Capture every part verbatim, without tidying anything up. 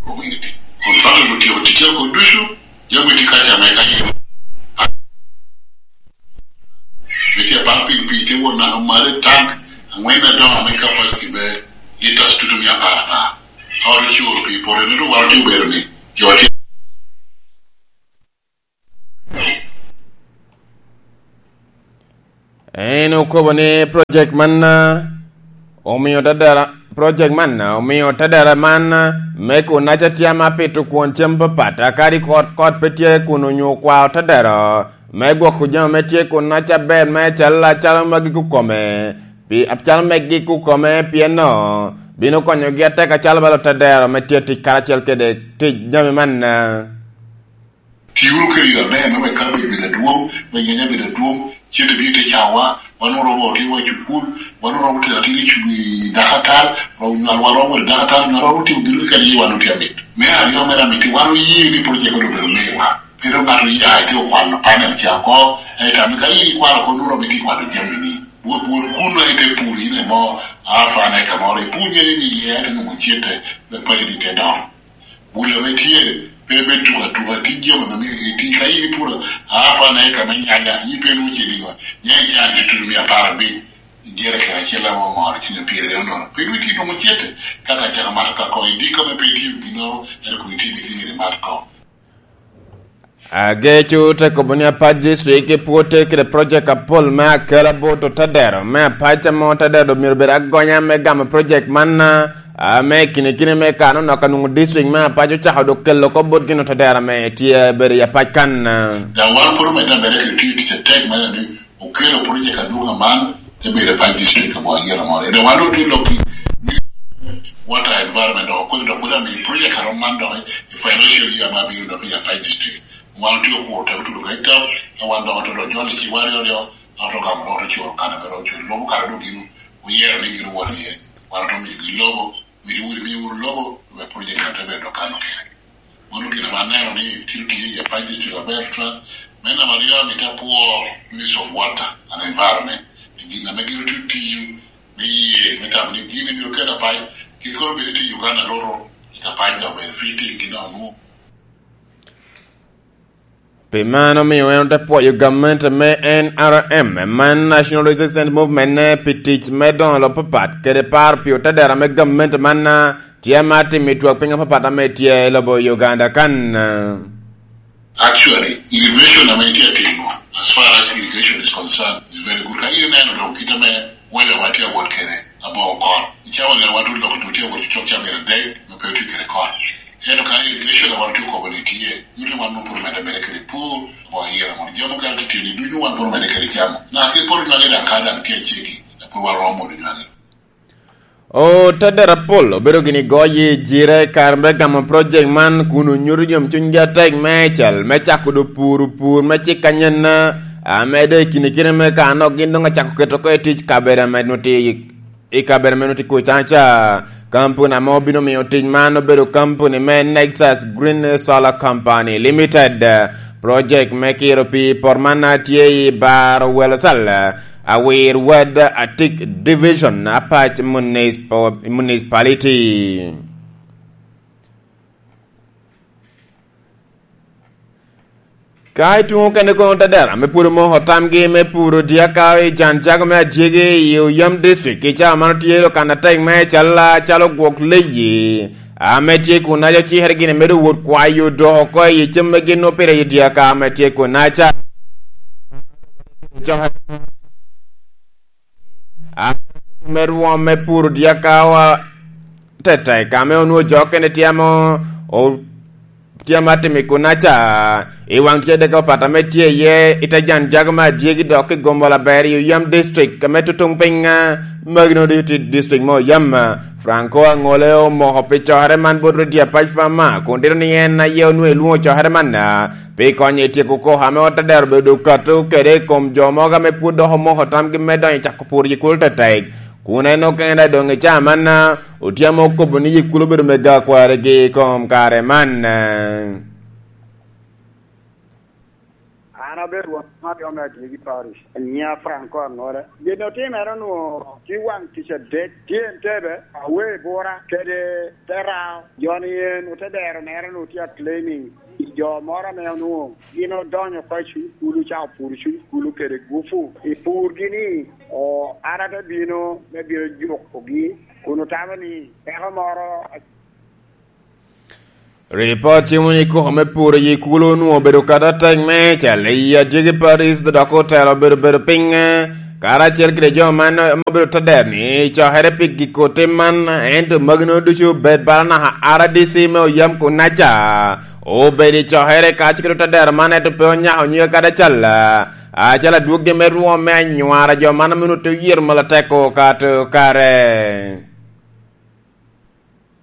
Community. Kun Father otyeko ticce oko ducu, jami tye kaca me ka yie. Ame tye apak piny, pii tye wot naka malo i tank angwen adoŋo ame capacity me litres tutu mia apar apar. Ot ocuro pii poto ni dong wan otye obedo ni jo tye. En okobo ni project man, ah, omio tadara, project man, ah, omio tadara man, ah, me kunnaca tye ame apito kwon cem papat, akadi kot, kot pe tye kun onyo kwao tadara me gwoko jami me tye kunnaca aber me calo, acalo magi kukome, pi, acalo megi kukome, pien no bino konyogi atek acalo balo tadara me tye tic karacel kede tic jami man, ah. Ti wunu kede yo aber me wek kabedo bedo adwoŋ, wek nyanya bedo adwoŋ, cente bino te cawa, wan oromo otino wa i cukul, wan oromo tero atin i cu-, i dakatal, oromo nywal, wan oromo bedo dakatal, nyo oromo timo gin keken ye wan otye amit. Me aryo mere amiti, wan oye ni project odoŋ obedo mewa. Pe dok ŋat oya ite okwalo panel ca oko, ento ame ka in ikwalo oko, nwoŋo oromo iti kwalo jami ni. Wot, wot kuno ite pur in emo, half an acre moro, ipur nyanya ni iye, ento nwoŋo cente, me paco ni te dongo. Bul ame tye, pe me tuka tuka, tye jami ame myero iti. Ka in ipuro half an acre me nyanya, in pe nwoŋo cediwa, nyanya tye a tutu mia apar abic, i jerican acel ame omoro cwiny pyeraryo nono. Pe nwoŋo iti nwoŋo cente, ka ka caka mato ka koŋ idiko ame pe itiyo ginnoro, ento kun iti gin myero imat koŋ. Ageco te kobo ni Apac District pwod tye kede project apol me akela bot otadero me Apac, ame otadero myero obed agonya me gamo project man, ame kine kine me kano nok anwoŋo district me Apac ocako dok kelo oko bot gin otadero ame tye bedo i Apac kan. Daŋ wan pwod omedde ameda kede tiyo tic atek me neno ni okelo project adwoŋ aman, te bedo i Apac District aboŋo ayela moro. Ede wan dok tye lok i Water Environment dok okobo dok kodi amiyo project arom man dok i financial year ma bino dok i Apac District. Wan otye okuro teko tudo ka i tap, a wan dok oto dok jolo i ciwa aryo aryo, a oto gamo dok oto curo kare me dok curo. Lobo kare dok gin oyero ni gin owot iye. Wan oto miyogi lobo, mito wot imiyo wunu lobo, me project na te bedo dok kano kene. Mano gin ame aneno ni tye tye i Apac District aber tutwal. Me namba aryo, amito apwo Ministry of Water and Environment. I gin ame gin otye tiyo me ye, me tamo ni gin myero kel Apac, gin kono bed tye i Uganda loro, i Apac dok bed fitting gin onwo. Pi man omio en ote pwoyo gamente me N R M, man National Resistance Movement, ne pi tic me doŋo lobo papat, kede paro pi otedero me gamente man, ah, tye ame atimo i twak piny apapat ame tye i lobo Uganda kan. Actually, irrigation ame itye atimo, as far as irrigation is concerned, is very good. Ka in ineno doŋ kit ame weather wa tye awot kede, aboŋo kot. I cawa ni wan dul dok dul tye awot cok ca myero adek, me pe otye kede kot. Ento ka irrigation a wan otye okobo ni tye, nyuto ni wan nwoŋo pwod omedde ameda kede pur, aboŋo ayela mono jami mukene tye tye ni ducu wan pwod omedde kede camo. Na ki poto nywage daŋ ka daŋ tye acegi, pwod wan romo modo nywage. Otedero apol obedo gini goyo jire i kare me gamo project man kun onyuto yomcunygi atek meicel me cako do puro pur me cik anyen, ame doŋ i kine kine me kano gin doŋ acako keto oko i tic kabedo ame nwoŋo tye i, i kabedo ame nwoŋo tye kuca ca. Kampuni ame obino miyo tic man obedo kampuni me Nexus Green Solar Company Limited. Project me kiro pii i poto man tye i Bar Welosal, Awir Wad, Atik Division, Apac Municipal-, Municipality. Ka ituŋo kene kono tadera ame pwod omoko tamgi me puro dyaka i can jago me adyegi i Oyam District, i cawa man otye lo kan atek me calla calo gwok leyi ame tye kun aco cikere gin medo wot kwayo dok oko i cem me gin opire i dyaka ame tye kun aca. Me rwom me puro dyakawa tetek, ame onwoŋo jo okene tye ame o-, tye ame atimo i kunaca, i waŋ tic adek apapat ame tye iye, i te jan jago me adyegi dok i Gombo Aber i Oyam District, ame tutuŋ piny, ah, magi nwoŋo ducu tye i district me Oyam. Franco Aŋole omoko pi cokere man bot Radio Apac Farmer, kun tito ni en aye onwoŋo elwoŋo cokere man, ah, pi konyo i tyeko koko ame ot adero obedo kato kede i kom jo mogo ame pwod dok omoko tamgi me donyo i cako pur i kulu tetek, kun en okene doŋ i caa man, ah, otyamo okobo ni yik kulu obedo mego akwarigi i kom kare man. An Abedo won Mario me Adyegi Parish, anyiŋa Franco Aŋola. Gin otimere onwoŋo tye waŋ tic adek, tye Entebbe, Awebura, kede Terao. Jo-ni en ote dero mere onwoŋo tye a claiming i jo moro ame onwoŋo gin odonyo oko i cuny kulu, ca opuro cuny kulu kede gupu i purgi ni, o, an ate bino me bino jukogi, kun otamo ni peko moro. Ripot timo ni koko me puro yi kulu onwoŋo obedo kata tek me cal i Adyegi Parish, dok otelo obedo bedo piny, karacel kede jo man ma obedo te dero ni cokere pi giko tim man, ento magi nwoŋo ducu obed bala naka R D C me oyam kunaca. Obedo i cokere kacel kede te dero man, ento pe onyako nyige kadi acal. Acalo adwoggi me rwom me anywara jo man ame onwoŋo te yero malo ateko ka to kare.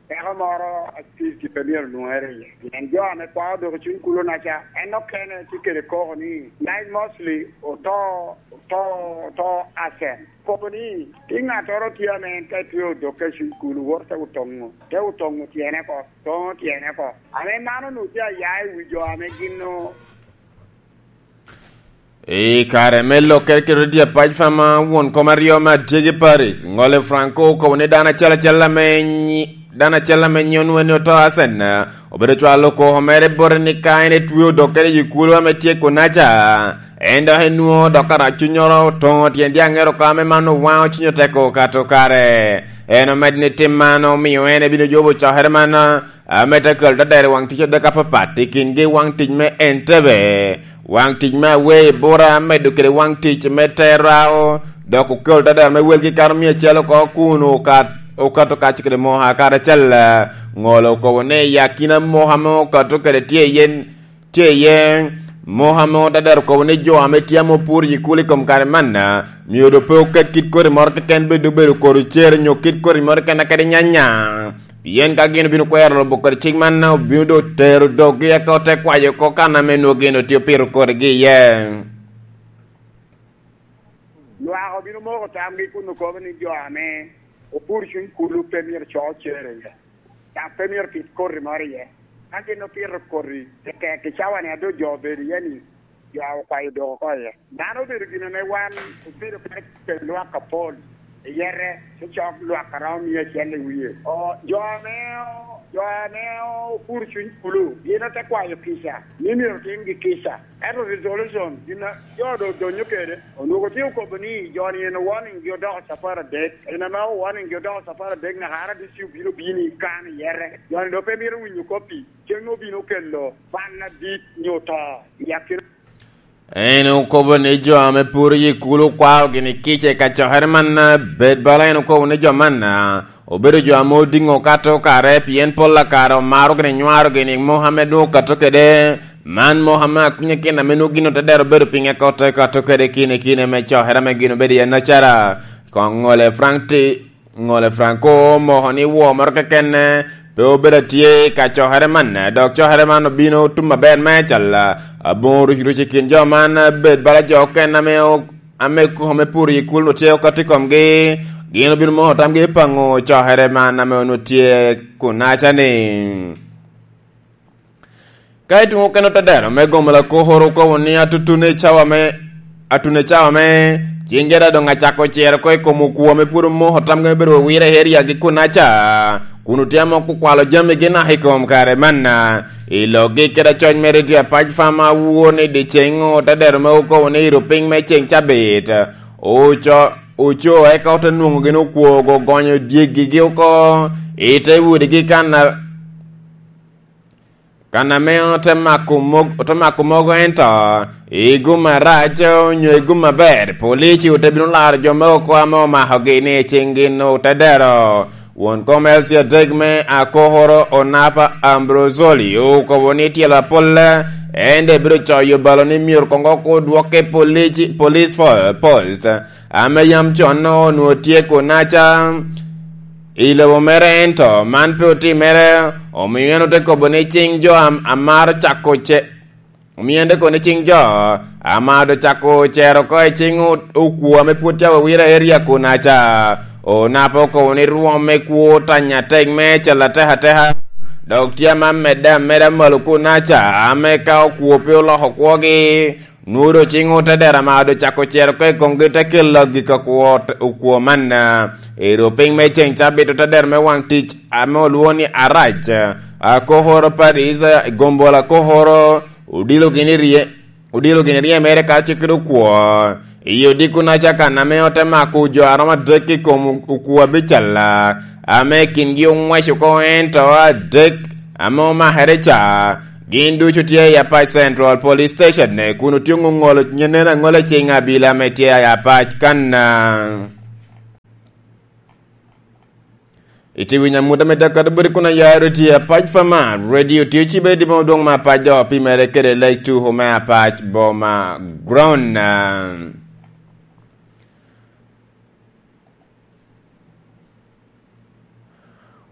Peko moro acil pe myero onwoŋere iye, pien jo ame kwao dok i cuny kulu-naca, en okene tye kede koko ni, Nine Mosley oto, oto, oto acen. Kobo ni, tye ŋattoro tye ame en ka etweo dokke i cuny kulu, woto te otoŋo, te otoŋo tyene oko, toŋo tyene oko. Ame mano onwoŋo tye aya i wi jo ame gin o- I kare me lokkere kede tye apac fama won kom aryo me Adyegi Parish, Ŋole Franco okobo ni dano acel acel ame nyi-, dano acel ame nyiŋe onwoŋo ni oto Asen, obedo cwalo koko mere bote ni ka en etweo dokkere i kulu ame tye kunaca, en dok enwoŋo dok arac cunnyoro otoŋo tyen dyaŋere oko ame man owaŋo cunye oteko kato kare. En omedo ni tim man omio en ebino jobo cokere man ame te kelo tadero i waŋ tic adek apapat, i kingi waŋ tic me Entebbe, waŋ tic me Awebura, medo kede waŋ tic me Terao, dok okelo tadero me welgi kato mia acel oko kun okat-, okato kac kede Moha karacel. Ŋolo okobo ni i akina Moha ame okato kede tye iye, tye iye Moha ame tadero okobo ni jo ame tye ame opuro i kulu i kom kare man, myero doŋ pe oket kit koti moro keken, bedo obedo kodi cere nyo kit koti moro keken kadi nyanya. Pien ka gin obino kwero lubo kodi cik man, obino doŋ tero doggi eka ote kwayo oko kan ame nwoŋo gin otye opito kodigi iye. Lwak obino moko tamgi kun okobo ni jo ame opuro cuny kulu pe myero co cere iye, dok pe myero pit koti moro iye. Ka gin opito koti tektek i cawa-ni a doŋ jo obedo iye-ni, jo okwayo dok oko iye. Dano obedo gin ame wan obedo kede lwak apol i yete, te cok lwak a romo mia acel i wie. O, jo ame, jo ame opuro cuny kulu, gin ote kwayo kica, ni myero otimgi kica. Ento resolution, gin a jo do-, donyo kede, onwoŋo tye okobo ni jo-ni en owarninggi odoko capar adek. En ame owarninggi odoko capar adek, naka R D C obino bino i kan i yete. Jo-ni doŋ pe mito winyo kop-pi. Cen obino kelo bal adit nyo to i akina. En okobo ni jo ame puro i kulu okwao gini kica i kacokere man, bed bala en okobo ni jo man obedo jo ame odiŋo kato kare, pien pol a kare omaro gini nywaro gini Mohammed nwoŋo kato kede. Man Mohammed akunye kin ame nwoŋo gin ote dero bedo pinye ka ote kato kede kine kine me cokere ame gin obedo iye nacara. Koŋ Ŋole Frank ti-, Ŋole Franco omoko ni woo moro keken pe obedo atye i kacokere man, dok cokere man obino otum aber me cal aboŋo ruc ruc i kin jo man, bed bala jo okene ame o-, ame koko me puro i kul onwoŋo tye okato i komgi, gin obino moko tamgi i paŋo cokere man ame onwoŋo tye kunaca-ni. Ka ituŋo keno tadero me gomo lakokoro okobo ni atutune cawa me, atune cawa me ciŋ jada doŋ acako cero oko i kom okwo ame pwod omoko tamgi me bedo wawira i eriagi kunaca, kun otye amoko okwalo jamigi naka i kom kare manna. I lokgi kede acoc mere tye apac fam awor ni diceŋ otadero me okobo ni iro piny me ceŋ cabit, oco, oco eka ote nwoŋo gin okwogo ogonyo dyegigi oko i te udigi kan a Kan ame ote mako mog-, ote mako mogo ento i gum arac onyo i gum aber, polici ote bino laro jo me oko ame omakogi ni i ciŋ gin ote dero. Won kom L C adek me Akokoro Onapa Ambrosoli okobo ni tyelo apol en daŋ ebino coyo balo ni myero koŋ oko odwokke polici, police fo-, post. Ame yam con onwoŋo tye kunaca i lobo mere, ento man pe otimere, omio en ote kobo ni ciŋ jo am-, amaro cako ce-, omio en te kobo ni ciŋ jo amaro cako cero oko i ciŋ o-, okwo ame pwod tye awawira i eria kunaca. Onapa okobo ni rwom me kwo otanya atek me cel atek ateka, dok tye ame amedde ameda malo kunaca, ame ka okwo pe oloko kwogi, Nwodo cing otedero ame doŋ cako cero oko i komgi te kelo gik akwo, okwo man, ah, i rupiny me ceŋ cabit otedero me waŋ tic ame olwoŋo ni Arac, ah, Kokoro Paris, ah, i gombola Kokoro, odilo gin i rye-, odilo gin i ryemere ka cik kede okwo. I odiko-naca kan ame ote mako jo a romo adek i kom okwo abical, ah, ame kingi oŋwec oko ento adek ame omakere ca, gin ducu tye i Apac Central Police Station, kun otye ŋoŋolo nyen aŋola ciŋ abila ame tye i Apac kan. Itye winyo amut ame dek kadi bodi kun aya radio Apac Fama, radio tye cibe di boma dwoŋ me Apac, dok pimere kede Lake Two me Apac boma ground.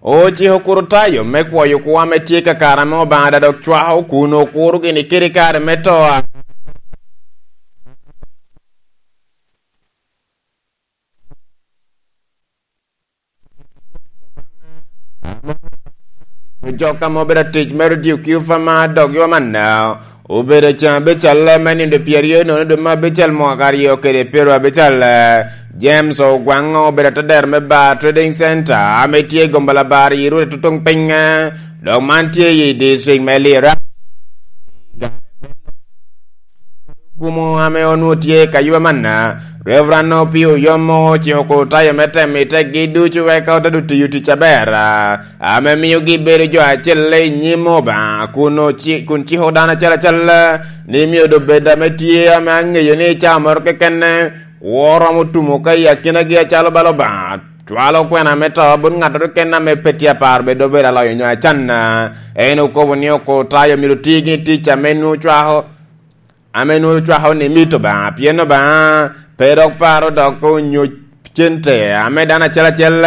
Ociko kuro tayo me kwoyo kwo ame tye kakare ame Obaŋa daŋ dok cwako kun okuro gini kede kare me to. Jok ame obedo atic me radio Q F M dok yo manna, obedo can abical me nindo pyeraryo nono dwe me abical mwaka aryo kede pyero abical. James Ogwaŋ obedo atedero me Bar Trading Center ame tye i Gombala Bar i Rwot Tutuŋ Piny, dok man tye i district me Lira. Kumo ame onwoŋo tye ka yub amanna, Reverend Opio Oyomo ociko kor tayo me temo i tekgi ducu wek ote doŋ tiyo tic aber, ame miogi bedo jo acel i nyim Obaŋa, kun oci-, kun ciko dano acel acel ni myero doŋ bed ame tye ame aŋeyo ni i cawa moro keken kwo romo tumo ka i akinagi acalo bala Obaŋa cwalo kwena me to bot ŋattoro keken ame pe tye aparo bed obedo aloyo nyo acanna. En okobo ni okor tayo myero ti gin tic ame nwoŋo cwako ame nwoŋo cwako ni mito Obaŋa, pien Obaŋa pe dok paro dok onyo cente ame dano acel acel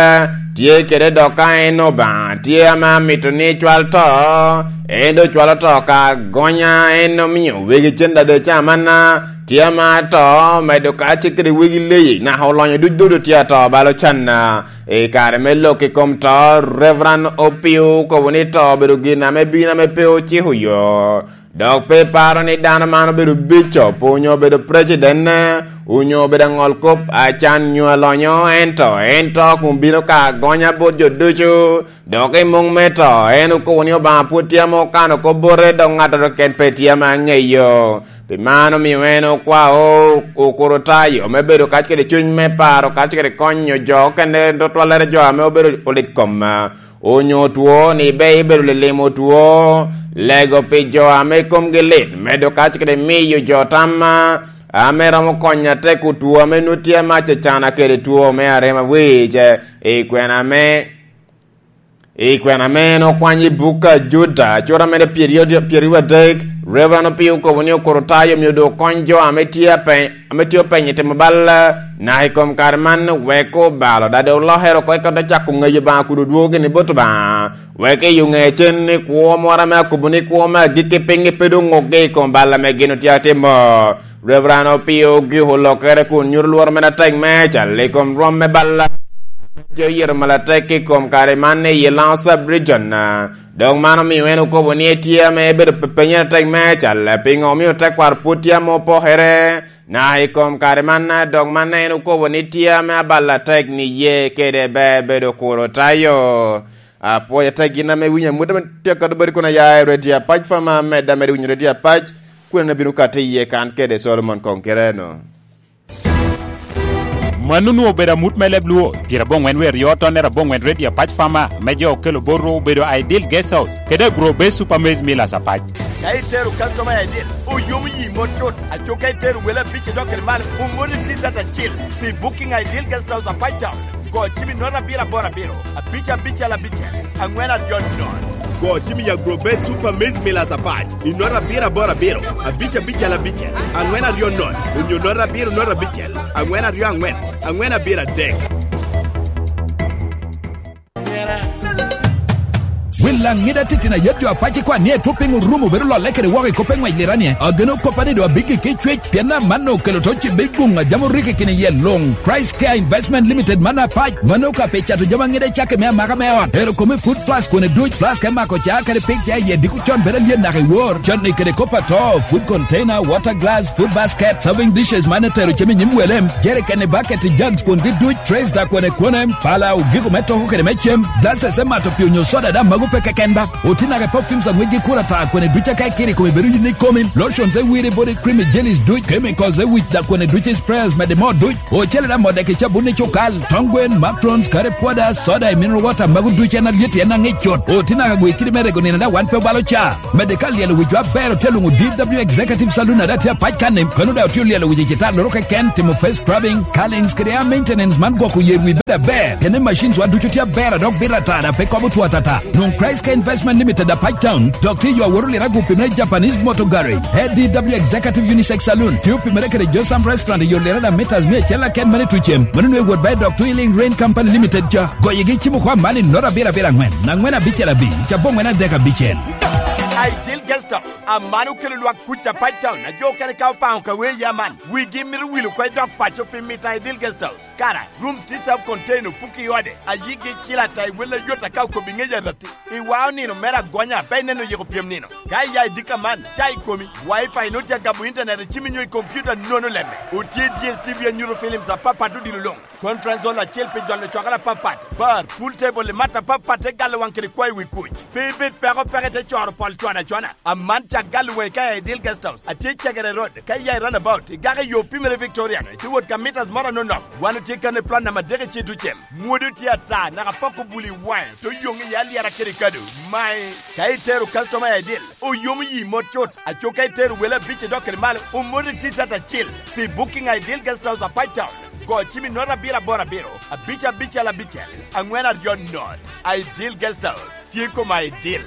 tye kede, dok ka en Obaŋa tye ame amito ni cwal to, en doŋ cwalo to ka gonya, en omio wegi cen dade ca manna, tye ame ato, medo kace kede wegi leyi, naka olonyo duc dodo tye ato balo canna. I kare me lok i kom to, Reverend Opio okobo ni to obedo gin ame bino ame pe ociko yo. Dok pe iparo ni dano man obedo bicop, onyo obedo precident, onyo obedo aŋol kop, acan nyo alonyo, ento, ento kun bino ka agonya bot jo ducu. Dok i muŋ me to, en okobo ni Obaŋa pwod tye ame okano kop bote, dok ŋattoro keken pe tye ame aŋeyo. Pi man omio en okwao okuro tayo me bedo kac kede cuny me paro, kac kede konyo jo okene, tutwallere jo ame obedo olit kom. Onyo two, ni be ibedo lilimo two, lego pi jo ame komgi lit, medo kac kede miyo jo tam ame romo konyo atek two ame nwoŋo tye ame acacana kede two me arema wic, i kwena ame, i kwena ame en okwany i buk a Juda, cura mere pyeraryo, pyeraryo adek, Reverend Opio okobo ni okuro tayo myero doŋ okony jo ame tye apeny-, ame tye openyo i timo bal, naka i kom kare man, wek obalo, dade olokere oko, eka ote cako ŋeyo Obaŋa kun odwogo gini bot Obaŋa, wek i oŋe cen ni kwo moro ame akobo ni kwo me agikki piŋgi pe doŋ ŋukgi i kom bal ame gin otye atimo. Reverend Opio ogiko lokere kun nyuto lworo mere atek meicel i kom rwom me bal ame tye oyito malatek i kom kare man i Lango Sub-Region. Dok man omio en okobo ni etye ame ebedo pe-, penyere atek meicel, piŋo omio tekwaro pwod tye ame opokere? Na i kom kare man, dok man en okobo ni tye ame abalo atek ni ye kede ber bedo kuro tayo. Apwoyo atek gin ame winyo amut ame tye akado bodi kun aya i Radio Apac Fama, medda medo winyo Radio Apac, kun en abino kati iye kan kede Solomon Koŋ Kireno. Mano onwoŋo obedo amut me leb Luo, pyerabongwen wie aryo tonnere abongwen Radio Apac Fama, me jo okelo botwu obedo Ideal Guest House, kede Agro Base Super Maize Millers Apac. Ka itero customer Ideal, oyomo yi mot cut. Aco ka itero wele abic idok kede malo, omoni T-shirt acil pi booking Ideal Guest House Apac Town. Go cim i note abiro aboro abiro, abic abicel abicel, angwen aryo nono. Go cim i Agrobet Super Maize Millers Apac i note abiro aboro abiro, abic abicel abicel, angwen aryo nono, onyo note abiro note abicel, angwen aryo angwen, angwen abiro adek. Laŋida titino ayet jo apac i kwan ni etwop piŋo rum obedo lolle kede woko i kop eŋwec liranie. Ageno koppa ni doŋ abiggi ki cwec, pien amanno okelo to cibbe guŋ a jam orikki kine iye luŋ. Christ Care Investment Limited man apac, mano ka pi cato jami aŋida i cakki me amaka me ot. Ero kome food flask kone duc, flask me mako ca kede pig ca iye diko con bedo alyet naka i wor. Canni kede kop ato, food container, water glass, food basket, serving dishes man etero cem i nyim welem, jerikeni, baketi, jugs kwongi duc, trays da kwene kwene, pala, ogiko me toko kede me cem, glasses me mato pii onyo soda da mago pe keken ba. Oti naka i perfumes aŋwec gi kura ta kwene duc aka ikiri kome bedo yin ikomi, lotions e wiri body cream i jellies duc, chemicals e wic da kwene duc i sprayers mede mo duc, ocele da modeki cabun i cukal, tong gwen, macrons, kare pwoda, soda i mineral water mago duc en alyet en aŋic cut. Oti naka gwe kidi me rego nino da wan pe obalo ca. Mede ka lyelo wic jo aber otye luŋo D W Executive Saloon ada tye apac kan-ni, kono daŋ otye olyelo wic i cita loro keken, timo face scrubbing, curlings kede hair maintenance man gwoko yer wi bedo aber. Kene machines wa ducu tye aber a dok bito ata da pe kobo two atata. Nwoŋ Christ Care Investment Limited apac town, dok tye yo aworo lirago pi me Japanese Motor Garage. A D W Executive Unisex Saloon, tye opimere kede Josam Restaurant i yo lirada meters mia acel aken mene tucem. Mano nwe wot ba i dok Twilling Rain Company Limited ca. Goyegi cimo kwa man i nota abiro abiro aŋwen, aŋwen abicel abic, cabo ŋwen adek abicel. Ideal Guest House, aman okelo lwak kuc a Pine Town, a jo okene ka opaŋo ka wee ya man, wigi mito wil oko i dok paco pi mito a Ideal Guest House. Kara, rooms tye self contained, opuki i ode, a yigi cil ata i wel ayot aka okobi ŋec arati. I wa onino mere agonya, pe ineno yiko pyem nino. Ka iya i dika man, ca i komi, wifi nut ya gabo internet i cimi nyo i computer nono lemme. Otye D S T V anyuto films apapat odilo luŋ. Conference hall acel pi jolo cwakere apapat, bar, pool table i mat apapat te galo waŋ kede kwayo wi kuc. Pe ibed peko peke te coro pol cwana cwana. Aman cak galo waŋi ka i Ideal Guest House. Atye i Cegere Road, ka iya i roundabout, igako i yo pimere Victorian, itye wot ka meters moro anonok. Wan otye kan i plot namba adek i Citucem. Mwodo tye ata, naka poko bul i waŋe, to yoŋ i alyera kede kado. Mae, ka itero customer i Ideal, oyomo yi mot cut. Aco ka itero wele abic idok kede malo, omoti t-shirt acil. Pi booking a Ideal Guest House a Pine Town, go cim i nota abiro aboro abiro, abic abicel abicel, aŋwen aryo not. Ideal Guest House, tye koma Ideal.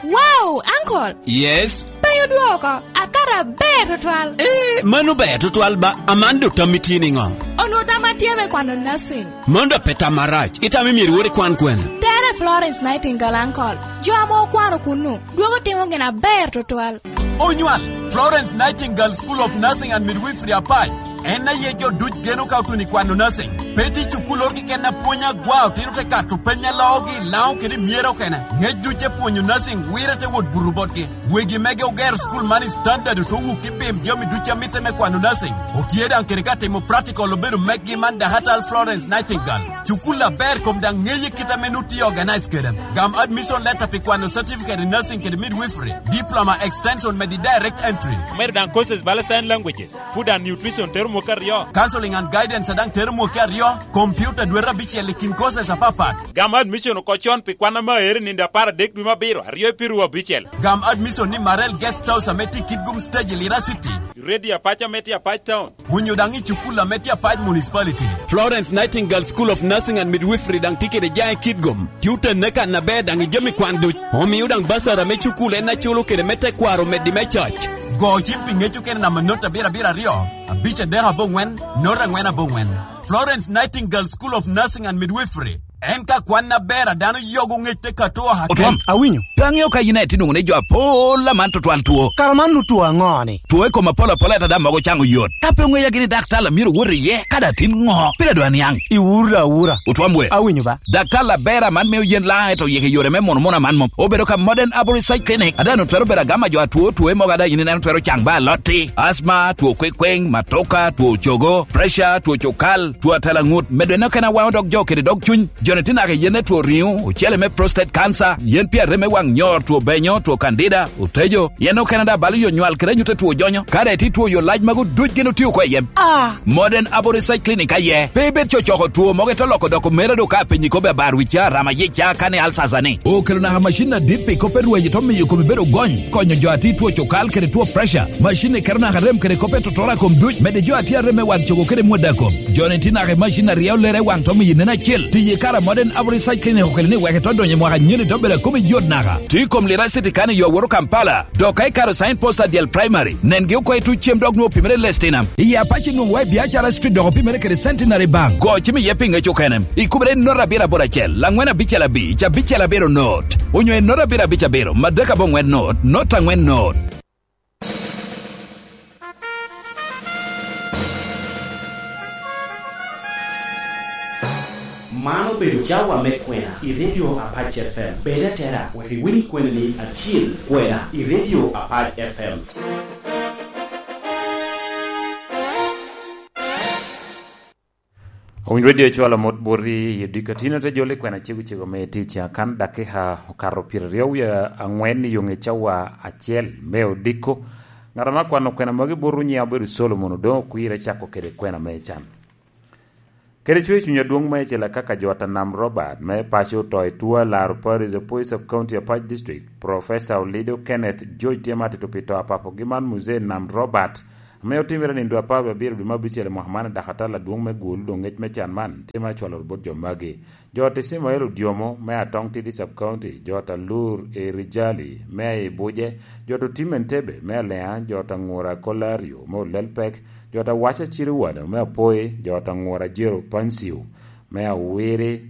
Wow, uncle! Yes? Pe odwoko, akato aber tutwal. Eh, mano ber tutwal ba, aman do tammi tye niŋo? Onwo tamma tye me kwano nursing. Mano da pe tam arac, itamo myero iwor ikwan kwene? Tere Florence Nightingale, uncle. Jo ame okwano kunnu, dwogo timo gin aber tutwal. Onywal, Florence Nightingale School of Nursing and Midwifery apac. En aye jo duc geno ka otuno i kwano nursing. Pe tye cukul oro keken a pwony agwa, otino te kato peny a loogi, Laŋo kede myero okene. Ŋec duc te pwonyo nursing, wire te wot buto botgi. Wegi mege ogero cukul man i standard, oto wuk i bim jami duc a mitte me kwano nursing. Otye daŋ kede ka timo practical obedo meggi man Dakatal Florence Nightingale. Cukul aber kom daŋ ŋeye kit ame nut tye organize kede. Gam admission letter pi kwano certificate in nursing kede midwifery, diploma extension medi direct entry. Omedo daŋ courses bala sign languages, food and nutrition tero mwaka aryo. Counseling and guidance a daŋ tero mwaka aryo, computer dwete abicel i kin courses apapat. Gam admission oko con pi kwan ame aero i nino apar adek dwe me abiro, aryo i piru abicel. Gam admission ni Marel Guest House ame tye i Kitgum Stage i Lira City. Radio apac ame tye apac town. Onyo daŋ i cukul ame tye apac municipality. Florence Nightingale School of Nursing and Midwifery daŋ tye kede jaŋ i Kitgum. Tye otenne kan aber daŋ i jami kwan duc. Omio daŋ basara me cukul en aculo kede me tekwaro medi me cac. Go cim pi ŋec okene namba not abiro abiro aryo, abic adek aboŋwen, not aŋwen aboŋwen. Florence Nightingale School of Nursing and Midwifery. En ka kwan aber a dano yogo ŋec te kato oha Otwom. Awinyo. Pe aŋeo ka yin aye tye nwoŋo ni jo apol aman tutwal two. Kara man nut two aŋo ni? Two i kom apol apol ata da mogo caŋo yot. Ka pe oŋeya gini daktar a myero wot iye, kadi atin ŋo? Pire dwa niaŋ. Iwura awura. Otwom we. Awinyo ba. Daktar aber aman mio yen laŋ eto yeke yore me mono mono aman mom. Obedo ka Modern Arbour Research Clinic. Ada no twero bedo agama jo atwo, two mogo ada yin ineno twero caŋ ba alotti. Asma, two kwekweng, matoka, two cogo, pressure, two cokal, two atela ŋut. Medo eno kena waŋo dog jo kede dog cuny. Joni tye naka i yen me two riŋo, ocele me prostate cancer, yen pi arem me waŋ nyor, two benyo, two candida, otejo, yen okene da balo yo nywal kede anyut two jonyo, kare ti two yo lac magu duc gin otio oko i yem. Ah! Modern Arbour Research Clinic aye, pe ibed cocoko two mogo ito loko doko mere do ka apenyi kobe abar wica, rama yica, kani alsasa ni. Okelo naka macin adit pi kop erweny ito miyo komi bedo gony, konyo jo ati two cokal kede two pressure. Macin ni keto naka rem kede kop etotora kom duc, mede jo ati arem me waŋ cogo kede mwada kom. Joni ti naka i macin aryo lere waŋ to miyo nen acel, tiye kara Modern Abu Research Clinic okelo ni wek ito donyo i mwaka nyen i dobbere a kome yot naka. Tye i kom Lira City kan i yo a woto Kampala, dok ka ikaro Sign Post Adiel Primary, nengi oko i tuc cem dok nwoŋo opimere i Lestinam. I Apac inwoŋo wa i Biacara Street dok opimere kede Centenary Bank. Go cim iye pi ŋec okene. Ikubere i note abiro aboro acel, laŋwen abicel abic, abicel abiro note, onyo i note abiro abic abiro, madek aboŋwen note, note aŋwen note. Man obedo cawa me kwena i Radio Apac F M. Bed atera, wek iwiny kwenani acil kwena i Radio Apac F M. Owiny Radio cwalo mot boti i dikatino te jolo i kwena cego cego me tic akan dakika okato pyeraryo wie aŋwen i yoŋe cawa acel me odiko. Ŋat ame akwano kwena magi bot onyiŋe obedo Solomon Odoŋo Okwir, acako kede kwena me can. Kede cwer cuny adwoŋ meicel akaka jo ata Nam Robert me paco oto i Tua Laro Parish, Apoi Sub County, Apac District, Professor Olido Kenneth George tye ma atito pi to a papogi man Muzee Nam Robert, ame otimere nindo apar wie abiro dwe me abicel i mwaka man, dok atal adwoŋ me gulu doŋ ŋec me can man tye ma acwalo bot jo magi. Jo ata Ismael Odyomo me Atong Tidi Sub County, jo ata Lur Erijali me Ibuje, jo ata Otim Entebe me Alea, jo ata Ŋura Kolario me Olelpek, jo ata Waca Ciriwano me Apoi, jo ata Ŋura Jero Pansiu me Awiri,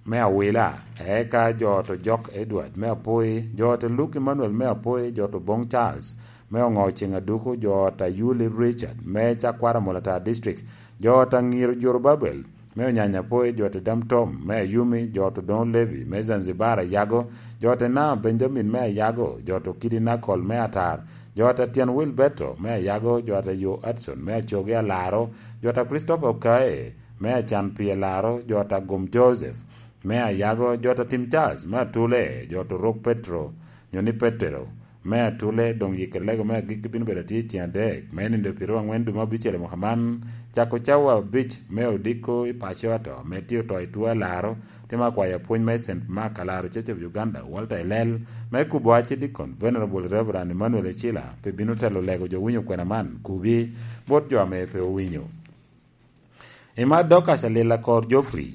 me Awila, eka jo ata Ojok Edward me Apoi, jo ata Luke Emmanuel me Apoi, jo ata Oboŋ Charles me Oŋo Ceŋ Aduku, jo ata Yuli Richard me Cakwara Molatar District, jo ata Ŋiro Jorobabel me Onyanya Apoi, jo ata Dam Tom me Ayumi, jo ata Odoŋo Levi me Zanzibar Ayago, jo ata Ina Benjamin me Ayago, jo ata Okidi Nakol me Atar, jo ata Tyen Wilberto me Ayago, jo ata Yo Adson me Acogi Alaro, jo ata Christopher Okae me Acan Pi Alaro, jo ata Gum Joseph me Ayago, jo ata Tim Charles me Atule, jo ata Orok Petro, nyo ni Petero, me Atule, doŋ yikere lego me agikki bino bedo atye i ceŋ adek, me nindo pyeraryo aŋwen dwe me abicel i mwaka man, cako cawa abic me odiko i paco ato, me tye oto i Tua Laro, tye ma akwayo apwony me Saint Mark Alaro Church of Uganda, Walter Elel, me kubo Archdeacon, Venerable Reverend Emmanuel Ecila, pi bino telo lego jo winyo kwena man, kubi, bot jo ame pe owinyo. Imat Dorcas Alila Kor Geoffrey.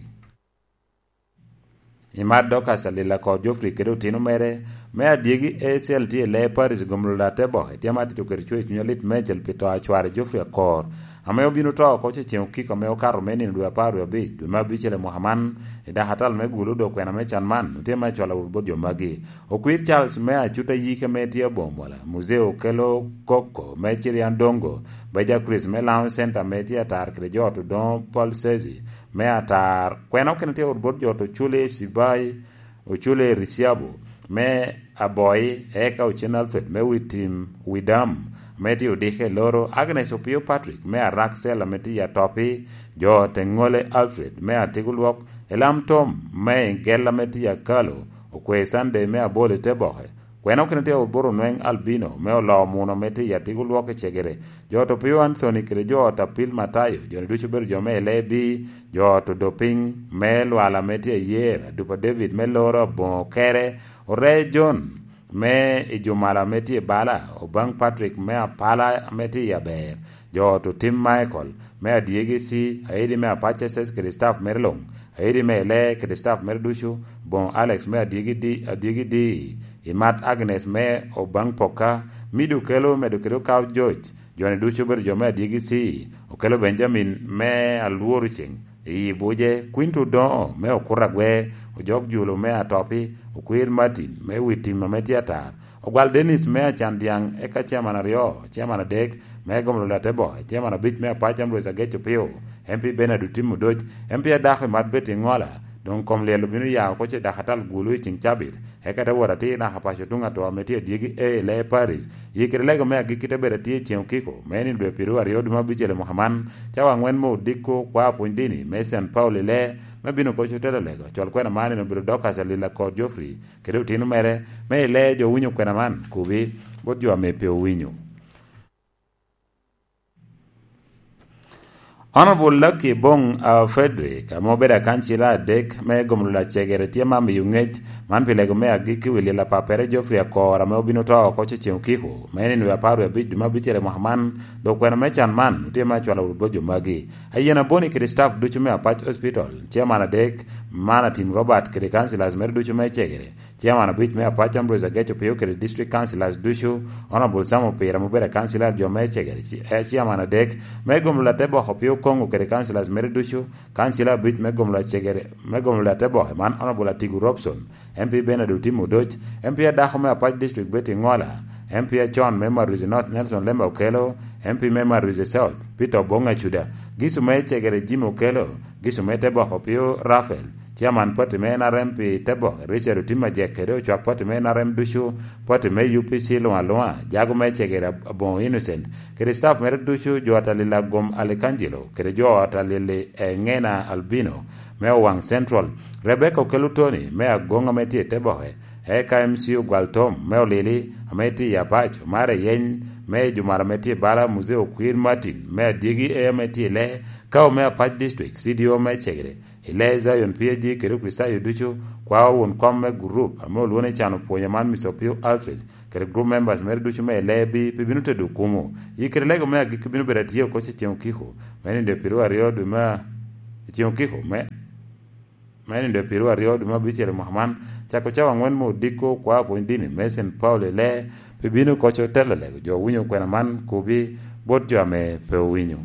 Imat Dorcas Alila Kor Geoffrey kede otino mere, me adyegi A C L tye i lee Paris gomlo late boke, tye ma atito kede cwer cuny alit meicel pi to a cware Geoffrey Akor, ame obino to oko ce ceŋ okiko ame okato me nino dwe apar wie abic, dwe me abicel i mwaka man, i dakatal me gulu dok kwena me can man, otye me acwalo wot bot jo magi. Okwir Charles me Acuta Yike me tye aboŋo mola, Muzee Okelo Koko me Cirian Dongo, Beja Chris me Laŋo Center me tye atar kede jo ot Odoŋo Paul Sezi, me atar, kwena okene tye ot bot jo ot Ocule Cibai, Ocule Riciabo, me Aboi, eka Ocen Alfred, me Witim Widam, me tye odike i Loro, Agnes Opio Patrick, me Arak Cell, ame tye i Atopi, jo ot Eŋole Alfred, me Atigo Lwok, Elam Tom, me Igella, me tye i Akalo, Okwe Sunday, me Abolo i Teboke, Kwena okene tye oboro nweŋ Albino, me oloo muno ame tye i Atigo Lwok i Cegere, jo ot Opio Anthony kede jo ot Apil Matayo, jo-ni ducu obedo jo me Elebi, jo ot Odopiny, me Lwala ame tye i Yer, Adupa David me Loro Aboŋo Kere, Oree John, me i Jumala ame tye i Bala, Obaŋ Patrick me Apala ame tye i Aber, jo ot Otim Michael, me Adyegi C, Aidi me Apac S S kede staff mere luŋ, Aidi me Ele kede staff mere ducu, Boŋo Alex me Adyegi D, Adyegi D, Imat Agnes me Obaŋ Poka, Mido Okelo medo kede Okaw George, jo-ni ducu obedo jo me Adyegi C, Okelo Benjamin me Alworo Ceŋ, i Buje, Quinto Odoŋo me Okuto Agwe, Ojok Julo me Atopi, Okwir Martin me Witim ame tye atar, Ogwal Dennis me Acan Dyaŋ, eka chairman aryo, chairman adek me Gomlo Latebo, chairman abic me Apac Ambrose Agec Opio, M P Bernard Otim Odoc, M P adako Imat Betty Ŋola, doŋ kom lyel obino ya oko ce dakatal gulu i ceŋ cabit, eka te wot atir naka paco tuŋ atwo ame tye adyegi A i Lee Parish, i kede lego me agikki te bedo atye i ceŋ okiko, me nino dwe pyeraryo aryo dwe me abicel i mwaka man, cawa aŋwen me odiko kwa pwony dini me Saint Paul i Lee, me bino koc otelo lego, col kwena man en obedo Dorcas Alila Kor Geoffrey, kede otino mere, me i Lee jo owinyo kwena man, kubi, bot jo ame pe owinyo. Honorable Lucky Bong, uh, Frederick, ame obedo akancila adek me gomolo lacegere, tye ma miyo ngec man pi lego me agikki wi lil apappere Geoffrey Akor, ame obino to oko cecen okiko, me nino apar wie abic dwe me abicel i mwaka man, dok kwena me can man otye me acwalo wot bot jo magi. Ayen Aboni kede staff ducu me Apac Hospital, chairman adek, man Atim Robert kede councillors mere ducu me cegere, chairman abic me Apac Ambrose Ageco Pio kede district councillors ducu, Honorable Sam Opira ame obedo councillor jo me cegere, ci-, eh, chairman adek, me gomolo Ateboko Pio Kongo kede councillors mere ducu, councillor abic me gomolo acegere, me gomolo Ateboko man Honorable Atigu Robson, M P Bernard Otim Odoc, M P adako me Apac District Betty Ngola, M P acon me Maruzi North Nelson Lemba Okello, M P me Maruzi South Peter Obong Acuda, gicu me cegere Jimmy Okello, gicu me Teboko Pio Raphael, chairman party me N R M pi Teboko Richard Otim Ajek kede ocwak party me N R M ducu, party me U P C luŋ aluŋa, jago me cegere Ab-, Aboŋo Innocent, kede staff mere ducu, jo atalil Agwom Alikangelo, kede jo atalil Eŋena Albino me Owaŋ Central, Rebecca Okello Tony me Agoŋ ame tye i Teboke, eka M C Ogwal Tom me Olili ame tye i Apac, Omar Eyeny me Jumara ame tye i Bala, Muzee Okwir Martin me Adyegi A ame tye i Lee, Kao me Apac District, C D O me Cegere, i Lee Zion P A G kede Okricitayo ducu, kwao won kom me gurup ame olwoŋo ni Can Opwonyo man Mister Opio Alfred, kede group members mere ducu me Lee bi, pi bino tedo kumo. Yi kede lego me agikki bino bedo atye oko cecen okiko, me nindo i piru aryo dwe me, cecen okiko, me, me nindo i piru aryo dwe me abicel i mwaka man, cako cawa aŋwen me odiko kwao pwony dini me Saint Paul i Lee, pi bino koco telo lego jo owinyo kwena man kobi bot jo ame pe owinyo.